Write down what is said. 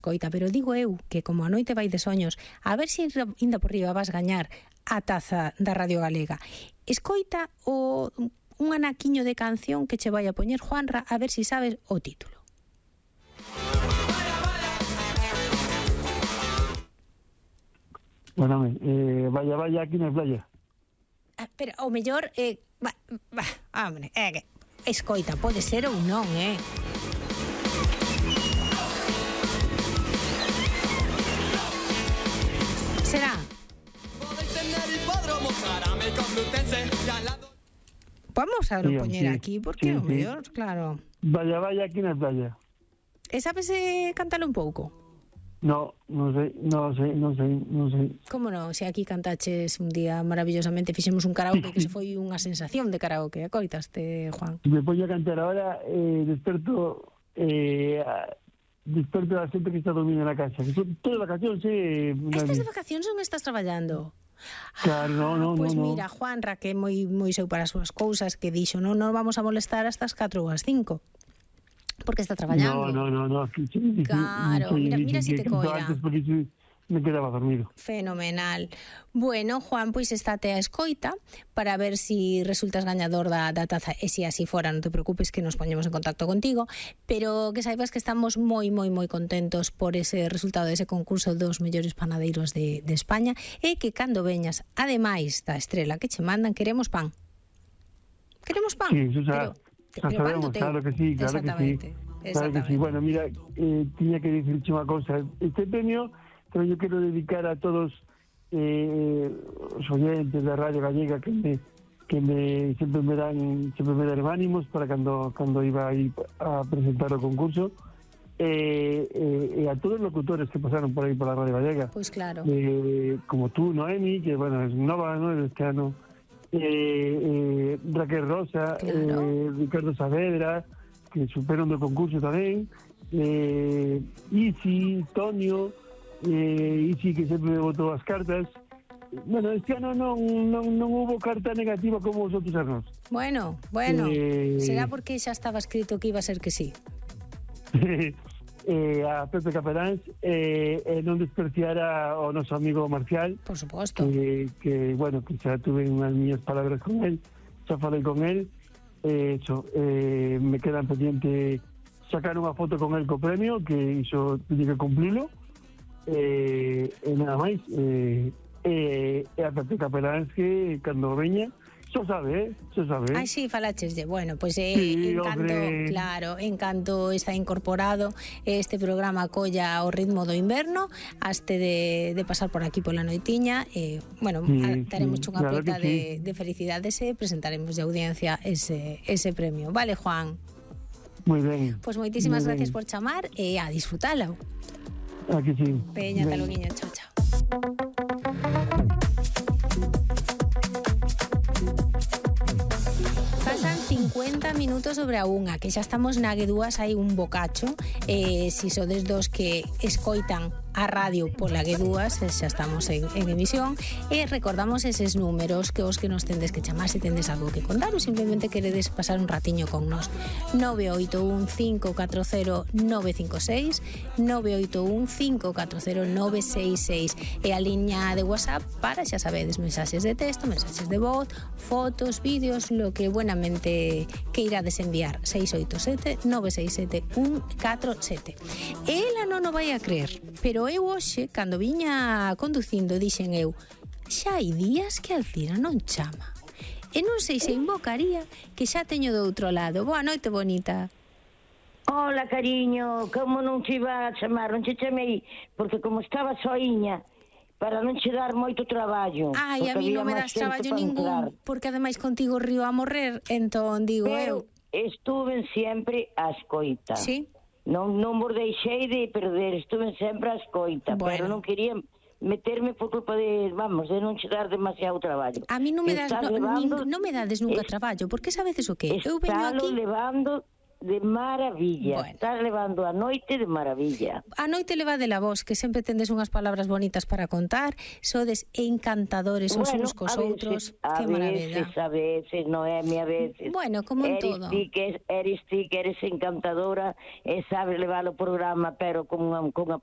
Coita, pero digo eu que como a noite vai de soños, a ver se inda por riba vas gañar a taza da Radio Galega. Escoita un anaquiño de canción que che vai a poñer Juanra, a ver se sabes o título. Bueno, vaya aquí na playa. Pero o mellor hombre, que escoita, pode ser ou non, Será? Vamos a poñer aquí, porque o mellor, claro. Vaya aquí na playa. E sabes cántalo un pouco? No sei. Como non? Se aquí cantaches un día maravillosamente, fixemos un karaoke que se foi unha sensación de karaoke. Coitaste, Juan? Me poño a cantar ahora, desperto a xente que está dormindo na casa. Que son todas vacacións, Estas de vacacións non estás traballando? Claro, no. Pois mira, Juanra, que é moi seu para as súas cousas, que dixo, non nos vamos a molestar hasta as 4 ou as 5. Porque está traballando. No. Claro, mira si te coira. Porque me quedaba dormido. Fenomenal. Bueno, Juan, pois estate a escoita para ver si resultas gañador da taza. E se así fora, non te preocupes que nos poñemos en contacto contigo, pero que saibas que estamos moi contentos por ese resultado dese concurso dos mellores panadeiros de España, e que cando veñas, ademais da estrela que che mandan, queremos pan. Queremos pan. Sí, eso xa sabemos, claro que sí. Claro que sí. Bueno, mira, tiña que dicirche unha cousa. Este premio pero yo quiero dedicar a todos os oyentes da Radio Gallega que siempre me dan ánimos para cando iba a ir a presentar o concurso, e a todos os locutores que pasaron por aí por la Radio Gallega. Pois claro. Como tú, Noemi, que bueno, es nova, ¿no? Este ano. Raquel Rosa, claro. Ricardo Saavedra, que superan do concurso tamén. Isi, Tonio, Isi, que sempre botou as cartas. Bueno, este ano non hubo carta negativa como os outros anos. Bueno, será porque xa estaba escrito que iba a ser que sí. A Pepe Caperáns, non despreciar ao noso amigo Marcial. Por suposto. Que bueno, que xa tuve unhas miñas palabras con él, xa falei con él, me quedan pendiente sacar unha foto con él co premio, que iso tiene que cumplilo, e nada máis, a Pepe Caperáns que cando veña Xo sabe. Ai, sí, falacheslle. Bueno, pois en canto está incorporado este programa colla ao ritmo do inverno, haste de pasar por aquí pola noitiña, bueno, daremos unha plata de felicidades e presentaremos de audiencia ese premio. Vale, Juan? Moi ben. Pois moitísimas gracias por chamar e a disfrutalo. Aquí sí. Peña, taluguiño, chao. Pasan 50 minutos sobre a unha, que xa estamos na Guedúas, hai un bocacho, si sodes dos que escoitan a radio pola Guedúas, xa estamos en emisión, e recordamos eses números que os que nos tendes que chamar se tendes algo que contar ou simplemente queredes pasar un ratiño con nos. 981-540-956, 981-540-966, e a liña de WhatsApp para, xa sabedes, mensaxes de texto, mensaxes de voz, fotos, vídeos, lo que buenamente queirades enviar. 687-967-147. Ela non o vai a creer, pero eu hoxe, cando viña conducindo, dixen eu, xa hai días que Alcira non chama. E non sei se invocaría que xa teño do outro lado. Boa noite, bonita. Hola, cariño, como non te iba a chamar? Non te chamei, porque como estaba soiña, para non che dar moito traballo. Ai, a mí non me das traballo ningún, porque ademais contigo río a morrer, entón digo eu. Estuve sempre a escoita. Sí? Non vos deixei de perder, estuve sempre a escoita, bueno. Pero non quería meterme por culpa de non che dar demasiado traballo. A mí non me das non me dades nunca traballo, porque sabedes o que? Eu veño aquí levando de maravilla. Bueno. Estás levando a noite de maravilla. A noite levadela vos, que sempre tendes unhas palabras bonitas para contar, sodes encantadores os uns cos outros. Que maravilla. A veces, Noemi, a veces. Bueno, como en todo. Eres encantadora e sabes levar o programa, pero con unha pasión.